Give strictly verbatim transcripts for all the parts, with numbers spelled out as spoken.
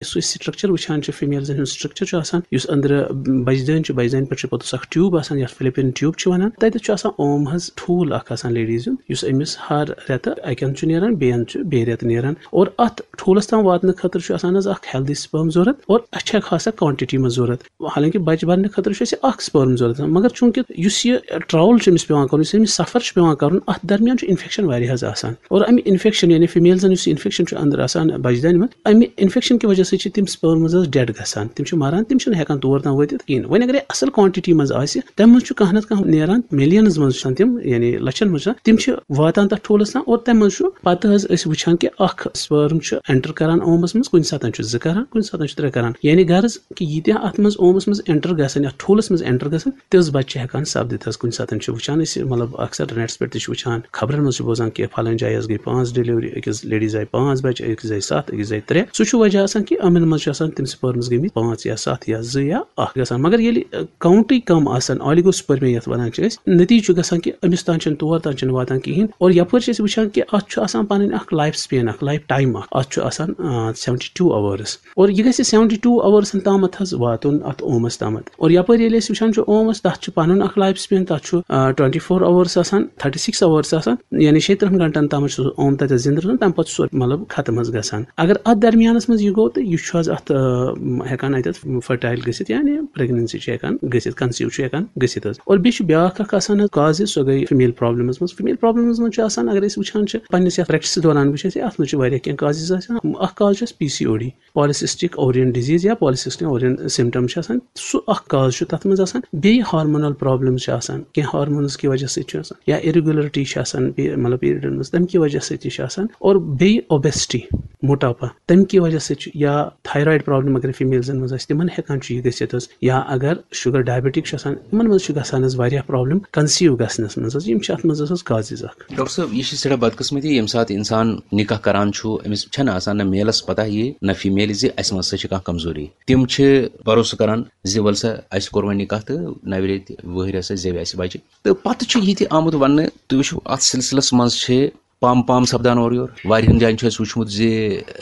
یُس أسۍ سٹرکچر وٕچھان چھِ، فیمیلزن ہُنٛد سٹرکچر چھُ آسان، یُس أنٛدرٕ بجہِ دٲنۍ چھِ، بجہِ دٲنۍ پٮ۪ٹھ چھِ پوٚتُس اکھ ٹیوب آسان، یتھ فیلوپین ٹیوب چھِ ونان۔ تتٮ۪تھ چھُ آسان اوم حظ ٹھوٗل اکھ آسان لیڈیز ہُنٛد، یُس أمِس ہر رٮ۪تہٕ اکہِ اندٕ چھُ نیران، بیٚیہِ اندٕ چھُ بیٚیہِ رٮ۪تہٕ نیران۔ اور اتھ ٹھوٗلس تام واتنہٕ خٲطرٕ چھُ آسان حظ اکھ ہیلدی سپرم ضروٗرت، اور اَسہِ چھِ خاص کانٹٹی منٛز ضروٗرت۔ حالانکہ بچہِ بننہٕ خٲطرٕ چھُ اَسہِ اکھ سپرم ضروٗرت آسان، مگر چوٗنکہِ یُس یہِ ٹریول چھُ أمِس پٮ۪وان کرُن، یُس أمِس سفر چھُ پٮ۪وان کرُن، اتھ درمیان چھُ انفیکشن واریاہ حظ آسان۔ اور امہِ انفیکشن، یعنی فیمیلزن یُس یہِ انفیکشن چھُ اندر آسان بچہِ دانہِ منٛز، امہِ انفیکشن کہِ وجہ سۭتۍ چھِ تِم سپرمز حظ ڈیڈ گژھان، تِم چھِ مران، تِم چھِنہٕ ہٮ۪کان تور تام وٲتِتھ کِہیٖنۍ۔ وۄنۍ اگر یہِ اصل کانٹٹی منٛز آسہِ، تمہِ منٛز چھُ کانٛہہ نتہٕ کانٛہہ نیران، ملینز منٛز چھِ آسان تِم، یعنی لچھن منٛز چھِ آسان، تِم چھِ واتان تتھ ٹھوٗلس تام، اور تمہِ منٛز چھُ پتہٕ حظ أسۍ وٕچھان کہِ اکھ سپرم چھُ انٹر کران اومس منٛز، کُنہِ ساتہٕ چھُ زٕ کران، کُنہِ ساتہٕ چھُ ترٛےٚ کران۔ یعنی غرض کہِ ییٖتیٛاہ اتھ منٛز اومس منٛز انٹر گژھن، یتھ ٹھوٗلس منٛز انٹر گژھن، تِژھ بچہِ چھِ ہٮ۪کان سپدِتھ حظ۔ کُنہِ ساتہٕ چھِ وٕچھان أسۍ، مطلب، اکثر نیٹس پٮ۪ٹھ تہِ چھِ وٕچھان، خبرن منٛز چھِ بوزان کہِ فلٲنۍ جایہِ حظ گٔے پانٛژھ ڈیلیوری، أکِس لیڈیز آیہِ پانٛژھ بچہِ، أکِس آیہِ ستھ، أکِس آیہِ ترٛےٚ۔ سُہ چھُ وجہ آسان کہِ یِمن منٛز چھِ آسان تِم سپرمز گٔمٕتۍ پانٛژھ یا ستھ یا زٕ یا اکھ گژھان۔ مگر ییٚلہِ کاونٹٕے کم آسان، آلیگوسپرمیا یتھ ونان چھِ أسۍ، نتیجہٕ چھُ گژھان کہِ أمِس تام چھِنہٕ، تور تام چھِنہٕ واتان کِہینۍ۔ اور یپٲرۍ چھِ أسۍ وٕچھان کہِ اتھ چھُ آسان پنٕنۍ اکھ لایف سپین، اکھ لایف ٹایم اکھ، اتھ چھُ آسان سیونٹی ٹو آورس۔ اور یہِ گژھِ سیونٹی ٹو اورسن تامتھ حظ واتُن، اتھ اومس تامتھ۔ اور یپٲرۍ ییٚلہِ أسۍ وٕچھان چھِ اومس، تتھ چھُ پنُن اکھ لایف سپین، تتھ چھُ ٹُوینٹی فور اورس آسان، تھرٹی سِکِس اورس آسان، یعنی شیٚیہِ ترٕٛہن گھنٹن تامتھ چھُ سُہ اوم تتٮ۪تھ زِندٕ روزان، تمہِ پتہٕ چھُ سُہ، مطلب، ختم حظ گژھان۔ اگر اتھ درمیانس منٛز یہِ گوٚو، تہٕ یہِ چھُ حظ اتھ، آ، ہٮ۪کان اتٮ۪تھ فرٹایل گٔژھِتھ، یعنی پریگننسی چھِ ہٮ۪کان گٔژھِتھ، کنسیو چھُ ہٮ۪کان گٔژھِتھ حظ۔ اور بیٚیہِ چھُ بیٛاکھ اکھ آسان حظ کاز، سۄ گٔے فیمیل پرابلمس منٛز۔ فیمیل پرابلمس منٛز چھُ آسان، اگر أسۍ وٕچھان چھِ پننِس یتھ پریکٹسس دوران وٕچھ اَسہِ، اتھ منٛز چھِ واریاہ کینٛہہ کازز آسان۔ اکھ کاز چھُ اَسہِ P C O D, polycystic ovarian disease یا پالیسسٹک اووریَن سِمپٹم چھِ آسان، سُہ اکھ کاز چھُ تَتھ منٛز آسان۔ بیٚیہِ ہارمونل پرابلمز چھِ آسان، کینٛہہ ہارمونز کہِ وجہ سۭتۍ چھُ آسان، یا اِریگولرٹی چھِ آسان، پی-، مطلب، پیریڈن منٛز، تَمہِ کہِ وجہ سۭتۍ تہِ چھِ آسان۔ اور بیٚیہِ اوبیسٹی، موٹاپا، تَمہِ کہِ وجہ سۭتۍ چھُ، یا تھایرایڈ پرابلم اگر فیمیلزن منٛز آسہِ، تِمن ہٮ۪کان چھُ یہِ گٔژھِتھ حظ، یا اگر شُگر ڈایبٹک چھُ آسان، یِمن منٛز چھُ گژھان حظ واریاہ پرابلم کنسیو گژھنس منٛز حظ۔ یِم چھِ اَتھ منٛز حظ کازز اکھ۔ ڈاکٹر صٲب، یہِ چھِ سٮ۪ٹھاہ بدقٕسمتی، ییٚمہِ ساتہٕ اِنسان نِکاح کران چھُ، أمِس چھَنہٕ آسان نہ میلَس پتہ یہِ، نہ فیمیلہِ زِ اَسہِ منٛز سا چھِ کانٛہہ کمزوری۔ تِم چھِ بھروسہٕ کران زِ وَلہٕ سا، اَسہِ کوٚر وۄنۍ نِکاح تہٕ نَوِ رٮ۪تہِ وٕہٕرۍ ہسا زٮ۪وِ اَسہِ بَچہِ۔ تہٕ پتہٕ چھُ یہِ تہِ آمُت وَننہٕ، تُہۍ وٕچھِو، اَتھ سلسلس منٛز چھِ پام پام سپدان اورٕ یورٕ۔ واریاہن جایَن چھُ اَسہِ وٕچھمُت زِ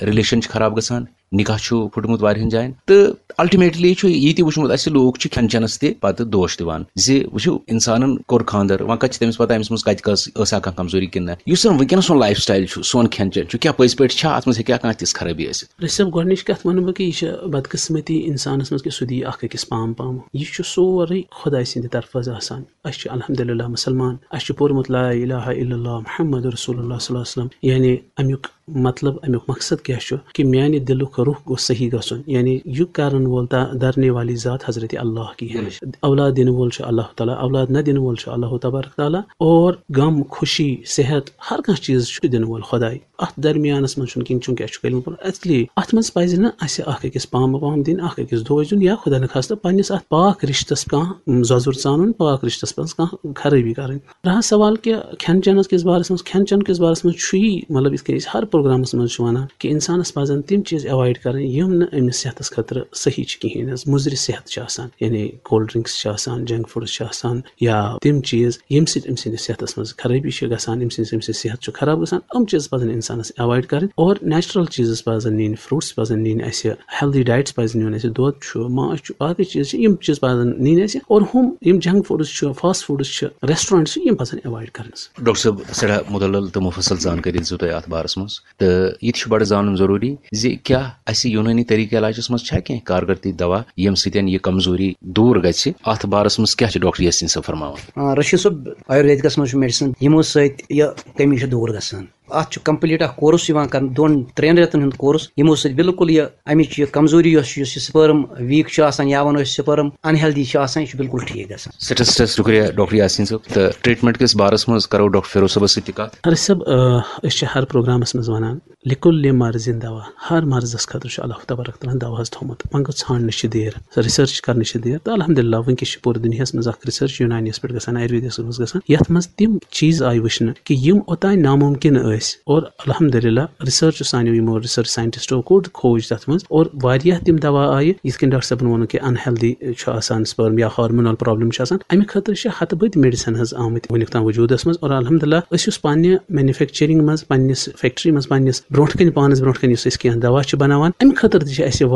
ریلیشن چھِ خراب گژھان، نِکاح چھُ پھُٹمُت واریاہن جاین۔ تہٕ الٹیمیٹلی چھُ یہِ تہِ وٕچھمُت اَسہِ، لوٗکھ چھِ کھٮ۪ن چٮ۪نَس تہِ پَتہٕ دوش دِوان زِ وٕچھِو، اِنسانَن کوٚر خانٛدر، وۄنۍ کَتہِ چھِ تٔمِس پَتہ أمِس منٛز کَتہِ کٔژ ٲسا کانٛہہ کمزوری کِنہٕ نہ۔ یُس زَن وٕنکیٚنَس سون لایف سٹایل چھُ، سون کھٮ۪ن چٮ۪ن چھُ، کیٛاہ پٔزۍ پٲٹھۍ چھا اَتھ منٛز، ہیٚکیٛاہ کانٛہہ تِژھ خرٲبی ٲسِتھ؟ رٔسیب، گۄڈٕنِچ کَتھ وَنہٕ بہٕ کہِ یہِ چھِ بدقٕسمتی اِنسانَس منٛز کہِ سُہ دی اَکھ أکِس پام پام۔ یہِ چھُ سورُے خۄداے سٕنٛدِ طرفہٕ حظ آسان۔ أسۍ چھِ الحمدللہ مُسلمان، اَسہِ چھُ پوٚرمُت لا الہ الا اللہ محمد رسول اللہ صلی اللہ علیہ وسلم، یعنی اَمیُک مطلب، اَمیُک مقصد کیٛاہ چھُ؟ کہِ میانہِ دِلُک روح گوٚژھ صحیح گژھُن، یعنی یہِ کرن وول تا-، درنے والی ذات حضرت اللہ کی ہے۔ اولاد دِنہٕ وول چھُ اللہ تعالیٰ، اولاد نہ دِنہٕ وول چھُ اللہ تبارک تعالیٰ۔ اور غم، خوشی، صحت، ہر کانٛہہ چیٖز چھُ دِنہٕ وول خۄداے۔ اتھ درمیانس منٛز چھُنہٕ کِہیٖنۍ، چوٗنٛکہِ اَسہِ چھُ کلمہٕ پوٚرمُت۔ اِسلیے اتھ منٛز پزِ نہٕ اَسہِ اکھ أکِس پامہٕ پام دِنۍ، اکھ أکِس دوش دیُن، یا خۄدا نخواستہٕ پننِس اتھ پاک رشتس کانٛہہ زۄزُر ژانُن، پاک رشتس منٛز کانٛہہ خرٲبی کرٕنۍ۔ رہا سوال کہِ کھٮ۪ن چٮ۪نس کِس بارس منٛز، کھٮ۪ن چٮ۪ن کِس بارس منٛز چھُ یی، مطلب، یِتھ کٔنۍ أسۍ ہر پروگرامس منٛز چھِ ونان کہِ انسانس پزن تِم چیٖز ایوایڈ کرٕنۍ، یِم نہٕ أمِس صحتس خٲطرٕ صحیح چھِ کِہیٖنۍ حظ۔ مُضرِ صحت چھِ آسان، یعنی کولڈ ڈرنکس چھِ آسان، جنک فوڈس چھِ آسان، یا تِم چیٖز، ییٚمہِ سۭتۍ أمۍ سٕنٛدِس صحتس منٛز خرٲبی چھِ گژھان، أمۍ سٕنٛز، أمۍ سٕنٛز صحت چھُ خراب گژھان، یِم چیٖز پزن انسانس ایوایڈ کرٕنۍ۔ اور نیچرل چیٖزز پزن نِنۍ، فروٹس پزن نِنۍ اَسہِ، ہیلدی ڈایٹس پزن نِنۍ اَسہِ، دۄد چھُ، ماز چھُ، باقٕے چیٖز چھِ، یِم چیٖز پزن نِنۍ اَسہِ۔ اور ہُم یِم جنک فوڈس چھِ، فاسٹ فوڈس چھِ، ریسٹورنٹس چھِ، یِم پزن ایوایڈ کرٕنۍ۔ ڈاکٹر صٲب، سٮ۪ٹھاہ مُدلل تہٕ مُفصل زانکٲری دِژوٕ تۄہہِ اَتھ بارس منٛز۔ تہٕ یہِ تہِ چھُ بڑٕ زانُن ضروٗری زِ کیٛاہ اَسہِ یوٗنٲنی طریٖقہٕ علاجَس منٛز چھا کینٛہہ کارگر تہِ دوا، ییٚمہِ سۭتۍ یہِ کمزوری دوٗر گژھِ؟ اَتھ بارَس منٛز کیٛاہ چھِ ڈاکٹر یاسیٖن صٲب فرماوان؟ آ، رشید صٲب، آیُرویدکَس منٛز چھُ میڈیسن، یِمو سۭتۍ یہِ کمی چھِ دوٗر گژھان۔ اَتھ چھُ کمپلیٖٹ اکھ کورس یِوان کرنہٕ، دۄن ترٛٮ۪ن رٮ۪تن ہُنٛد کورس، یِمو سۭتۍ بالکل یہِ اَمِچ یہِ کمزوری یۄس چھِ، یُس یہِ سپرم ویٖک چھُ آسان یا وَنو أسۍ سپرم انہیلدی چھُ آسان، یہِ چھُ بالکل ٹھیٖک گژھان۔ سٮ۪ٹھاہ سٮ۪ٹھاہ شُکریہ ڈاکٹر یاسیٖن صٲب۔ تہٕ ٹریٹمنٹ کِس بارَس منٛز کرو ڈاکٹر فیروز صٲبَس سۭتۍ تہِ کَتھ۔ حارث صٲب، آ، أسۍ چھِ ہر پروگرامَس منٛز وَنان، لِکُلِ مرضٍ دوا، ہر مرضس خٲطرٕ چھُ اللہ تبارک تعالیٰ ہن دوا حظ تھوٚومُت۔ وۄنۍ گوٚو ژھانڈنٕچ چھِ دیر، ریسرچ کرنٕچ چھِ دیر۔ تہٕ الحمدللہ وٕنکیٚس چھِ پوٗرٕ دُنیاہَس منٛز اکھ ریسرچ یوٗنانیَس پٮ۪ٹھ گژھان، آیُرویدَس منٛز گژھان، یَتھ منٛز تِم چیٖز آیہِ وٕچھنہٕ کہِ یِم اوٚتانۍ نامُمکِن ٲسۍ۔ اَسہِ۔ اور الحمدللہ، ریسرچ سانیو یِمو ریسرچ ساینٹسٹو کوٚر کھوج تَتھ منٛز، اور واریاہ تِم دوا آیہِ، یِتھ کٔنۍ ڈاکٹر صٲبن ووٚن کہِ انہیلدی چھُ آسان سپرم یا ہارمونل پرابلم چھِ آسان، اَمہِ خٲطرٕ چھِ ہتہٕ بٔدۍ میڈیسن حظ آمٕتۍ وٕنیُک تام وجوٗدس منٛز۔ اور الحمدللہ، أسۍ یُس پننہِ مینوفیکچرنگ منٛز، پننِس فیکٹری منٛز، پننِس برونٛٹھ کنہِ، پانس برونٛٹھ کنہِ یُس أسۍ کینٛہہ دوا چھِ بناوان، اَمہِ خٲطرٕ تہِ چھِ اَسہِ